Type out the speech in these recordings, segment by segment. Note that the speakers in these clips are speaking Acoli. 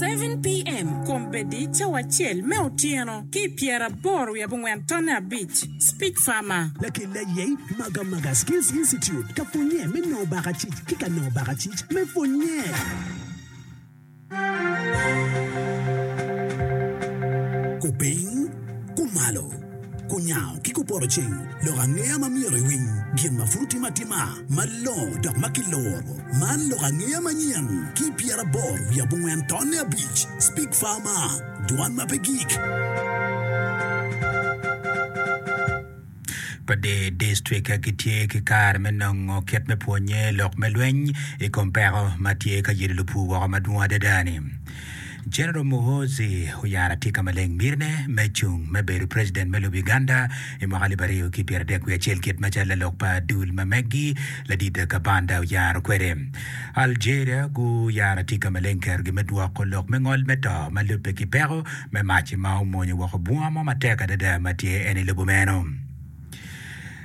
7 PM, Kombeddi cawa acel me otyeno ki i pyeraboro wiye abongwen tonne abic. Speech Farmer. Lakel aye Magamaga Skills Institute ka pwonye me nongo bakacic ki ka nongo bakacic me pwonye. Kupiny, kumalo, kunyango ki kupoto ceng, lok angeya ma myero iwiny, gin ma pud otimme atima, malongo dok ma kiluro. Man lok angeya manyen ki pyeraboro wiye abongwen tonne abic, Speak Farmer, Dwan ma pe gik. Pa dee distrik gitye ki kare me nongo kit me pwonye lok me lweny i kom peko ma tye ka yelo lupur woko madwong adada-ni. General Muhoozi oyaro atika maleng mitine me cung me bedo president me lobo Uganda i mwaka alip aryo ki pyeradek wiye acel kit macalo lalok pa dul ma meggi ladit Kabanda oyaro kwede. Algeria guyaro atika maleng kerogi me dwoko lok me ngol me to ma lubbe ki peko me mac ma omwonyo woko bunga mo matek adada ma tye en i lobo meno.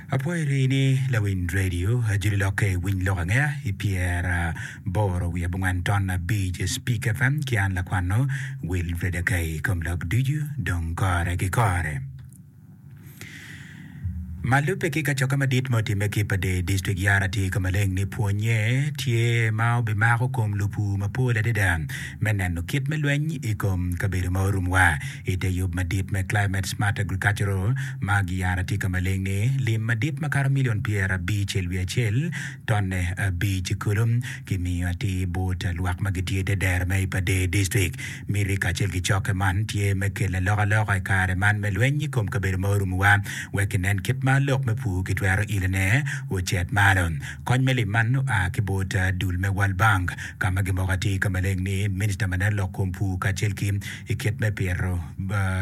Apwoyo rii ni lawiny radio ajoli lokke i winy lok angeya i pyer boro wiye abongwen ton abic Speak FM ki an lakwano Wilfred Akay i kom lok ducu dong kore ki kore. Ma lubbe ki kacokke madit ma otimme ki i Pader District Yara tye ka maleng ni pwonye tye ma obimako kom lupur mapol adada me neno kit me lweny i kom kabedo ma orumwa i te yub madit me Climate Smart Agricultural ma giyaro tye ka maleng ni lim madit makato milion pyerabicel wiye acel tonne abic kulu kimiyo atir bot lwak ma gitye i te dero me i Pader District. Miti kacel ki cokke man tye me kelo alokaloka i kare man me lweny i kom kabedo ma orumowa wek kinen kit ma lok me pur kitwero ilone ocit malo. Kony me lim man oa ki bot dul me World Bank ka ma gimoko atir ka maleng ni Minista ma neno lok kom pur kacel ki i kit me pito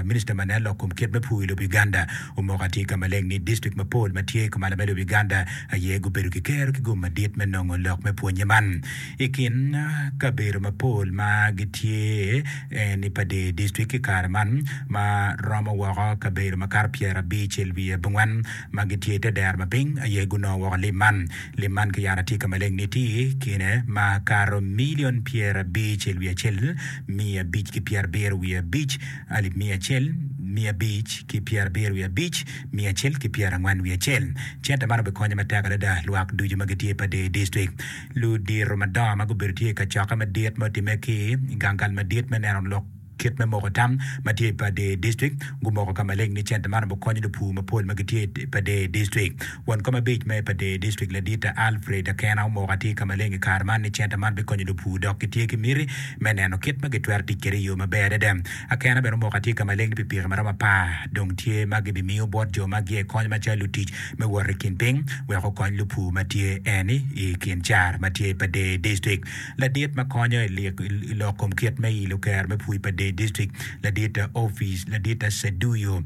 Minista ma neno lok kom kit me pur i lobo Uganda omoko atir ka maleng ni distrik mapol ma tye kumalo me lobo Uganda aye gubedo ki kero ki gum madit me nongo lok me pwonye man. I kin kabedo mapol ma gitye en i Pader District i kare man ma romo woko kabedo makato pyerabicel wiye abongwen ma gitye i te dero ma piny aye gunongo woko lim man. Lim man kiyaro atir ka maleng ni tye i kine ma kato milion pyerabicel wiye acel, miya abic ki pyerabiro wiye abic, alip miya acel, miya abic ki pyerabiro wiye abic, miya acel ki pyerangwen wiye acel. Cente man obikonyo matek adada lwak ducu ma gitye i Pader District. Ludito madongo ma gubedo tye i kacokke madit ma otimme ki i gang kal madit me neno lok kit me moko tam ma tye i Pader District gumoko ka maleng ni cente man obikonyo lupur mapol ma gitye i Pader District. Won kom abic me Pader District Ladit Alfred Akena omoko atir ka maleng i kare man ni cente man bikonyo lupur dok gitye ki miti me neno kit ma gitwero tic kwede i yo maber adada. Akena bene omoko atir ka maleng ni pikipiki ma romo apar dong tye ma gibimiyo bot jo ma giye kony macalo lutic me wot i kin piny wek okony lupur ma tye eni i kin car ma tye i Pader District. Ladit ma konyo i lok kom kit me ilo kero me pur i Pader District, ladit opic ladit Seduyo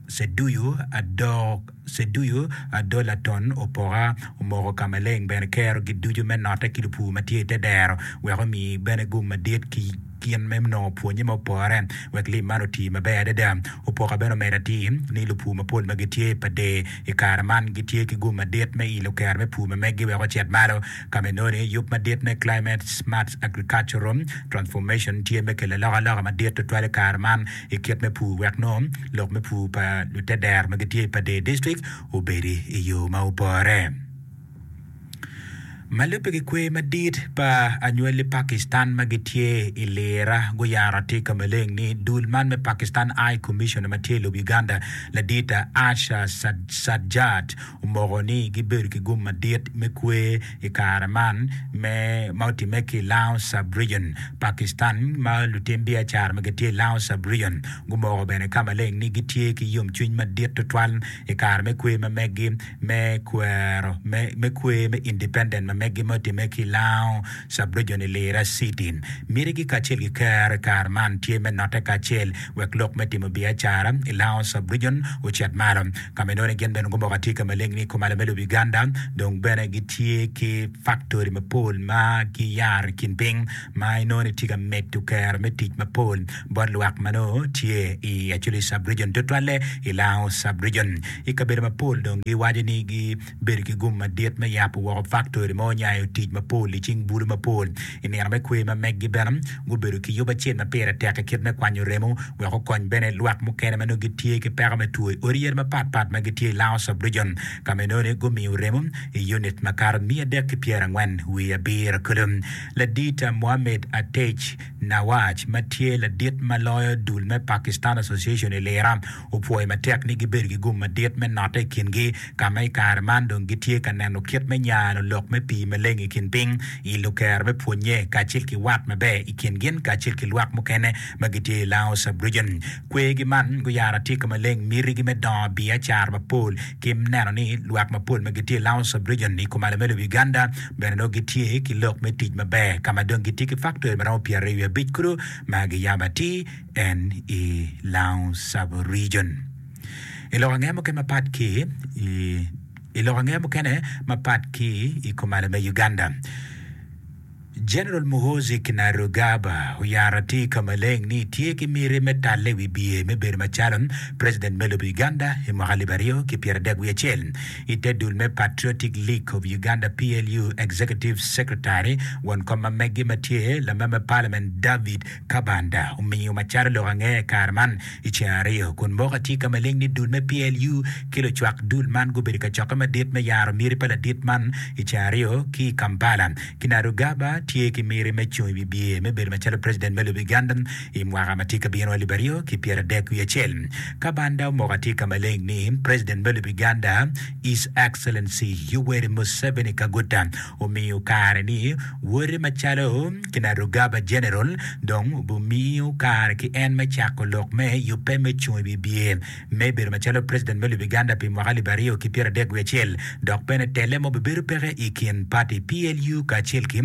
Seduyo Adok Seduyo Adolaton Opoka omoko ka maleng bene kerogi ducu me note ki lupur ma tye i te dero wek omi bene gum madit ki gin me nongo pwonye ma opore wek lim man oti maber adada. Opoka bene omedo atir ni lupur mapol ma gitye i Pader i kare man gitye ki gum madit me ilo kero me pur ma meggi wek ocit malo ka ma inongo ni yub madit me Climate Smart Agricultural Transformation tye me kelo alokaloka madit tutwal i kare man i kit me pur wek nongo lok me pur pa lutedero ma gitye i Pader District obedi i yo ma opore. Ma lubbe ki kwer madit pa anywali Pakistan ma gitye i lira guyaro atir ka maleng ni dul man me Pakistan High Commissioner ma tye i lobo Uganda ladit Asha Sajjad omoko ni gibedo ki gum madit me kwer i kare man me ma otimme ki i Lango Sub-Region Pakistan ma lutim biacara ma gitye i Lango Sub-Region gumoko bene ka maleng ni gitye ki yomcwiny madit tutwal i kare me kwer ma meggi me kwero me kwer me independent ma meggi ma otimme ki i Lango Sub-Region i Lira City. Mitigi kacel ki kero i kare man tye me note kacel wek lok me timo biacara i Lango Sub-Region ocit malo. Ka ma inongo ni gin bene gumoko atika maleng ni kumalo me lobo Uganda dong bene gitye ki faktori mapol ma giyaro i kin piny ma inongo ni tye ka medo kero me tic mapol bot lwak ma nongo tye i Acholi Sub-Region tutwalle i Lango Sub-Region. I kabedo mapol dong giwaco ni gibedo ki gum madit me yabo woko faktori mo. onyayo tic mapol i cing bulu mapol. I nino me kwer ma meggi bene, gubedo ki yub acel ma pire tek i kit me kwanyo remo wek okony bene lwak mukene ma nongo gitye ki peko me two i odi yadi mapat pat ma gitye i Lango Sub-Region ka ma inongo ni gumiyo remo i unit makato 347 kulu. Ladit Mohammed Atej Nawaj ma tye ladit ma loyo dul me Pakistan Association i Lira opwoyo matek ni gibedo ki gum madit me notte i kingi ka ma i kare man dong gitye ka neno kit me nyano lok me pii maleng i kin piny i lukero me pwonnye kacel ki wat maber i kin gin kacel ki lwak mukene ma gitye i Lango Sub-Region. Kwergi man guyaro atika maleng mitigi me dongo biacara mapol ki neno ni lwak mapol ma gitye i Lango Sub-Region i kumalo me lobo Uganda bene nongo gitye ki lok me tic maber ka ma dong gitye ki faktori ma romo 25 kulu ma giyabo atir en i Lango Sub-Region. I lok angeya mukene mapat ki i I lok angeya mukene mapat ki i kumalo me Uganda, General Muhoozi Kainerugaba oyaro atir ka maleng ni tye ki miti me talle i wi biye me bedo macalo President me lobo Uganda i mwaka alip aryo ki pyeradek wiye acel. I te dul me Patriotic League of Uganda, PLU, Executive Secretary, won kom ma meggi ma tye lamemba me Parliament David Kabanda omiyo macalo lok angeya i kare man i ceng aryo kun moko atir ka maleng ni dul me PLU ki lucwak dul man gubedo i kacokke madit me yaro miti pa ladit man i ceng aryo ki i Kampala. Kinarugaba tye ki miti me cung i wi bye me bedo macalo President me lobo Uganda i mwaka ma tye ka bino 2031. Kabanda omoko atir ka maleng ni President me lobo Uganda His Excellency Yoweri Museveni Kaguta omiyo kare ni wode macalo Kinarugaba General dong obumiyo kare ki en me cako lok me yubbe me cung i wi bye me bedo macalo President me lobo Uganda pi mwaka 2031 dok bene telle mo bibedo peke i kin party PLU kacel ki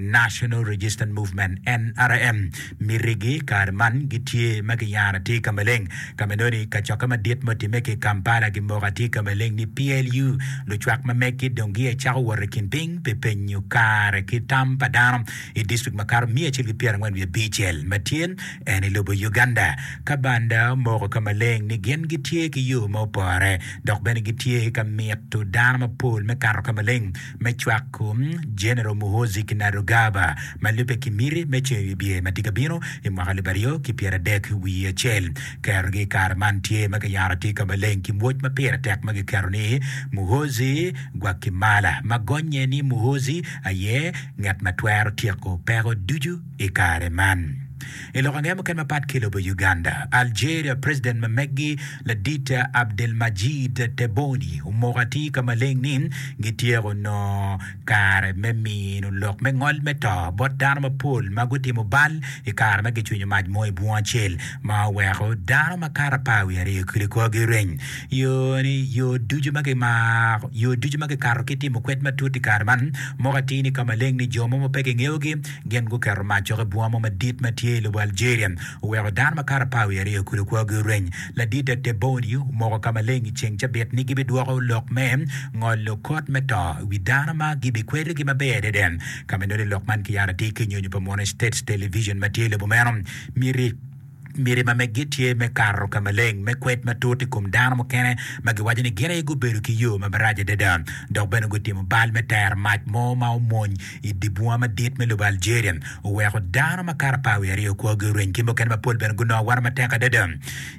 National Resistance Movement, NRM. Mitigi kare man gitye ma giyaro atir ka maleng. Ka ma inongo ni kacokke madit ma otimme ki i Kampala gimoko atir ka maleng ni PLU lucwak ma meggi dong giye cako wot i kin piny pi penyo kare ki tam pa dano i distrik makato 145 ma tye en i lobo Uganda. Ka banda omoko ka maleng ni gin gitye ki yo ma opore dok bene gitye ka mito dano mapol me kato ka maleng me cwako General Muhoozi Kainerugaba ma lubbe ki miti me ceng i wibye ma tye ka bino i mwaka 2031. Kerogi i kare man tye ma kiyaro atir ka maleng ki mwoc ma pire tek ma giketo ni Muhoozi Gwakimala ma gonye ni Muhoozi aye ngat ma twero tyeko peko ducu i kare man. I lok ange mukene mapat ki i lobo Uganda, Algeria President ma meggi ladit Abdelmadjid Tebboune omoko atir ka maleng ni gityeko nongo kare me mino lok me ngol me to bot dano mapol ma gutimo bal i kare ma gicwinyo mac mo i bunga acel ma oweko dano makato apar wiye aryo kodi korgi reny. Yo ni yo ducu ma gimako yo ducu ma gikato ki timo kwed matut i kare man moko atir ni ka maleng ni jo mo ma pe kingeyogi Gin guketo mac cok i bunga mo madit ma tye i lobo Algeria, oweko dano makato apar wiye aryo kulu kwogi oreny. Ladit Tebboune omoko ka maleng i ceng cabit ni gibidwoko lok me ngolo kot me to i wi dano ma gibikwedogi maber adada. Ka ma inongo ni lok man kiyaro atir ki i nyonyo pa Munu States Television ma tye i lobo meno, miti Miti ma meggi tye me kato ka maleng me kwed matut i kom dano mukene ma giwaco ni gin aye gubedo ki yo ma marac adada dok bene gutimo bal me tero mac mo ma omwony i dye bunga madit me lobo Algeria oweko dano makato apar wiye aryo kwogi oreny ki mukene mapol bene gunongo awano matek adada.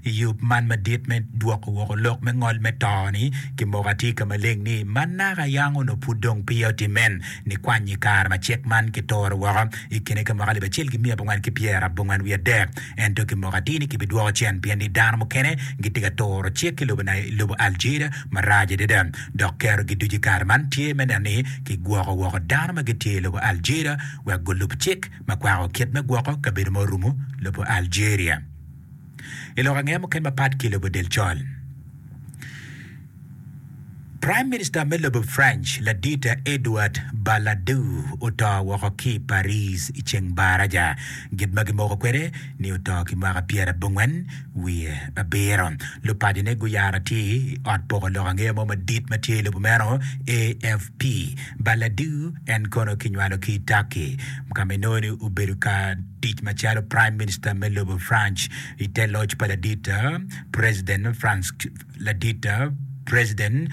I yub man madit me dwoko woko lok me ngol me to-ni, kimoko atir ka maleng ni ma naka yang onongo pud dong peya otimme nikwany i kare ma cik man kituro woko I kine ka mwaka 1993, ento kimoko atir ni kibidwoko cen pien ni dano mukene gitye ka turo cik ki lobo Algeria marac adada dok kerogi ducu i kare man tye me neno ni kigwoko woko dano ma gitye i lobo Algeria wek gulub cik ma kwako kit me gwoko kabedo ma orumo lobo Algeria. I lok angeya mukene mapat ki lobo del col. Prime Minister me lobo French ladit Edouard Balladur oto woko ki i Paris i ceng baraja. Gin ma gimoko kwede ni oto ki mwaka 97. Lupacone guyaro atir i ot poko lok angeya mo madit ma tye i lobo meno, AFP. Balladur en kono kinywalo ki i Turkey ka ma inongo ni obedo ka tic macalo Prime Minister me lobo France i te loc pa ladit President Ladit President.